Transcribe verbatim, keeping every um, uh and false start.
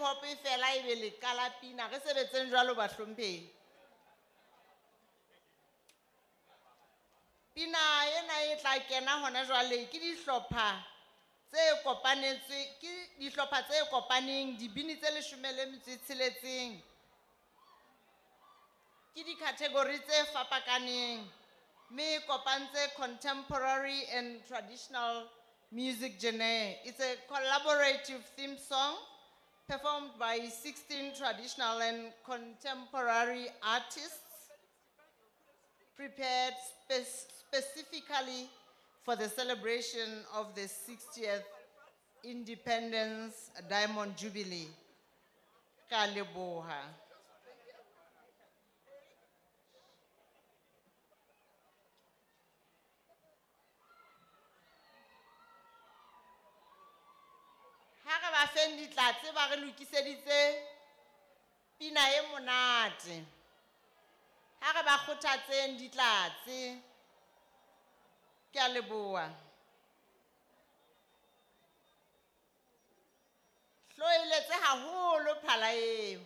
hop e fela ebe le qala pina. Re sebetseng jwalo bahlomphehi. Pina ena e tla kena hona jwale ke dihlopha tse kopanetswe, ke dihlopha tse kopaneng, dibini tse leshome le metso e tsheletseng. Ke di-category tse fapakaneng, mme e kopantse contemporary and traditional music genre. It's a collaborative theme song performed by sixteen traditional and contemporary artists, prepared spe- specifically for the celebration of the sixtieth Independence Diamond Jubilee. Ka leboha. Ha re ba feng ditlatse ba re lokiseditse pina e monate. Ha re ba kgothatseng ditlatse. Ke a leboha. Hloeletse haholo phala eo.